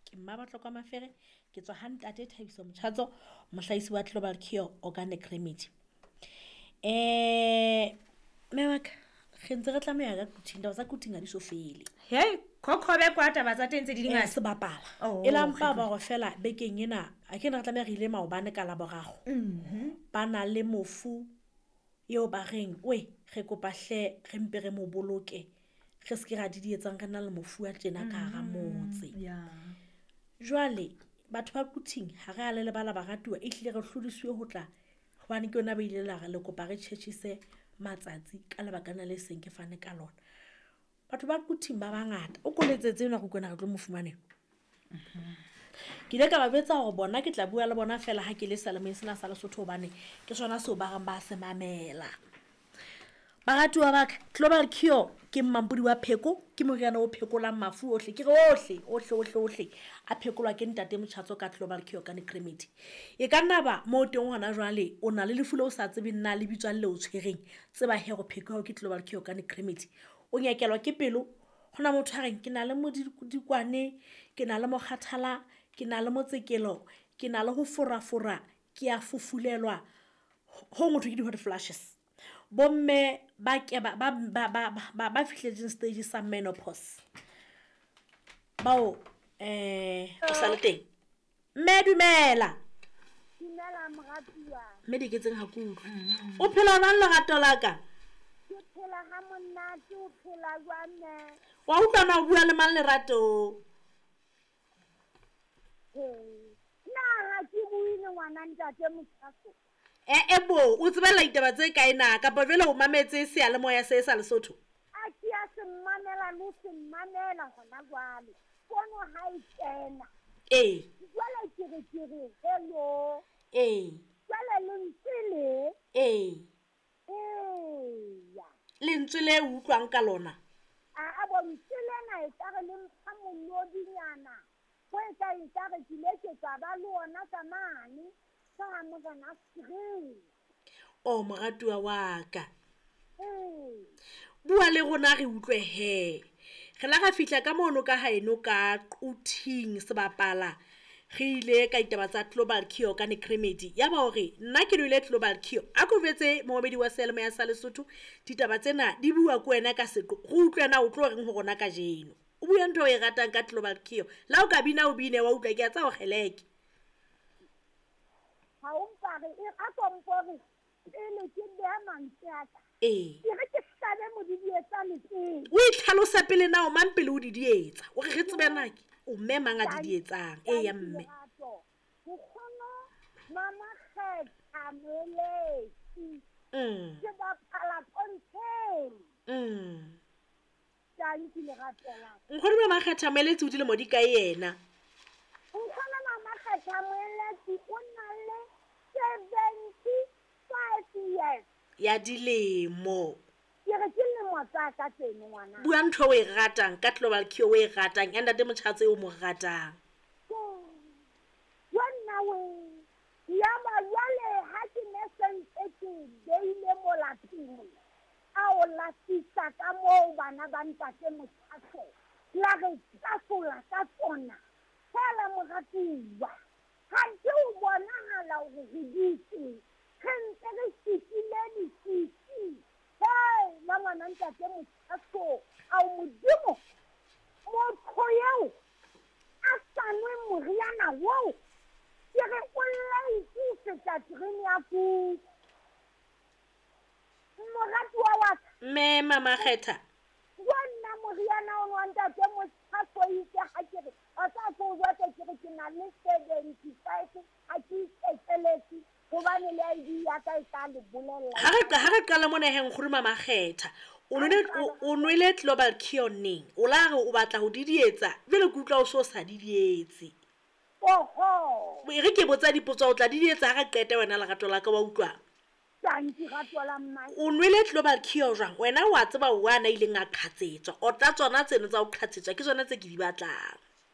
Ke Mmabatlokwa Mafere, ke tswa ha Ntate Thabiso Motjhatso, mohlahisi wa Global Cure Organic Remedy. Mme wa ka, re ntse re tlameha ka Quthing, taba tsa Quthing ha di so fele. Hei, khokhobe kwa taba tsa teng tse di dingata. Sebapala. E la mpa ba hore fela bekeng ena, a ke ne re tlameha re ile maobane ka Laboraro. Ba na le mofu eo ba reng, we, re kopa hle re mpe re mo boloke. Re se ke ra didietsang re na le mofu wa tjena ka hara motse. Jwale, batho ba Quthing ha re a le lebala baratuwa, ehlile re hlodisiwe ho tla hobane ke yona ba ile la re le kopa re tjhetjhise matsatsi ka lebaka lena le seng ke fane ka lona. Batho ba Quthing ba bangata. O koletsetse enwa re utlwana re tlo mo fumaneng. Ke ile ka ba jwetsa hore bona ke tla bua le bona fela ha ke le seyalemoyeng sena sa Lesotho hobane ke sona seo ba reng ba se mamela. Baratuwa ba ka, Global Cure ke mmampodi wa pheko, ke moriana o phekolang mafu ohle, ke re ohle, ohle, ohle, ohle a phekolwa ke Ntate Motjhatso ka Global Cure Organic Remedy. E ka nna ba moo teng hona jwale o na le lefu leo o sa tsebeng na le bitswang le o tshwereng, tseba he hore pheko ya hao ke Global Cure Organic Remedy. O nyekelwa ke pelo, hona motho a reng ke na le modikwane, ke na le mokgathala, ke na le motsekelo, ke na le ho forafora, ke a fufulelwa, ho motho ke di-hot flashes. Bomme ba ke ba ba ba ba ba ba fihletseng stage sa menopause. Bao o sa le teng. Mme dumela. Dumela moratuwa. Mme di ketseng ha ke utlwe. O phela jwang lerato la ka? Ke phela ha monate, o phela jwang mme? Wa utlwa na o bua le mang lerato? Na ha ke bue le ngwana ntate Motjhaso? E bo, o tsebella ditaba tse kae na? Kapa jwale o mametse seyalemoya se sa Lesotho? A ke a se mamela le ho se mamela hona jwale. Pono ha e kena. Jwale ke re ke re hello. Jwale lentswe le. Eya. Lentswe le utlwang ka lona? A bo lentswe lena e ka re le mpha molodinyana. Ho e ka e ka re ke ile ke tsa ba le ona ka mane. Ka Morena Sri. O moratuwa wa ka. Bua le rona re utlwe he. Re la ra fihla ka mono ka haeno ka Quthing sebapala. Re ile ka ditaba tsa Global Cure Organic Remedy. Ya ba hore nna ke nwele Global Cure. A ko jwetse momamedi wa seyalemoya sa Lesotho ditaba tsena di bua ko wena ka seqo. Re utlwe na o tlo reng ho rona kajeno. O bue ntho e ratang ka Global Cure. La o ka bina o bine wa utlwa ke a tsa ho kgeleke. Ha o mpare e a kompore pele ke beha mantswe a ka. Ke re ke hlabe modidietsa le pele. O itlhalosa pele na o mang pele o didietsa. O re re tsebe na ke o mme mang a didietsang. Eya mme. Nkgono Mama Kgetha Moeletsi. Ke bapala pontsheng. Tanki lerato la. Nkgono Mama Kgetha Moeletsi o dilemo di kae yena? Nkgono Mama Kgetha Moeletsi o na le 75 years. Ya dilemo. Ke re ke lemo tsa ka tseno ngwana. Bua ntho o e ratang ka Global Cure o e ratang ya Ntate Motjhatso o mo ratang. Yo nna we. Ya ba jwale ha ke ne sentse ke beile mola pele. A o lafisa ka moo bana ba Ntate Motjhatso. La re tlasola ka tsona. Fela moratuwa. Ha ke o bonahala hore re dutse. Re ntse re fihlile disisi. Hei, la ngwana Ntate Motjhatso. Ao Modimo. Motho eo a sa nwe moriana oo. Ke re o late ho feta terene ya kuku. Moratuwa wa ka. Mme Mama Kgetha. Wa nna moriana o nwa Ntate Motjhatso itse ha ke re, o tla tlo jwetsa ke re ke na le 75 ha ke ikekeletse hobane le ID ya ka e tla le bolella. Ha re qala mona he nkgono Mama Kgetha, o nwele Global Cure neng? O la re o batla ho didietsa, jwale ke utlwa o so sa didietse. Oho. E re ke botsa dipotso o tla didietsa ha re qete wena lerato la ka wa utlwa. Tanki rato la mmae. O nwele Global Cure jwang? Wena wa tseba wa na ileng a qhatsetswa. O tla tsona tseno tsa ho qhatsetswa ke tsona tse ke di batlang.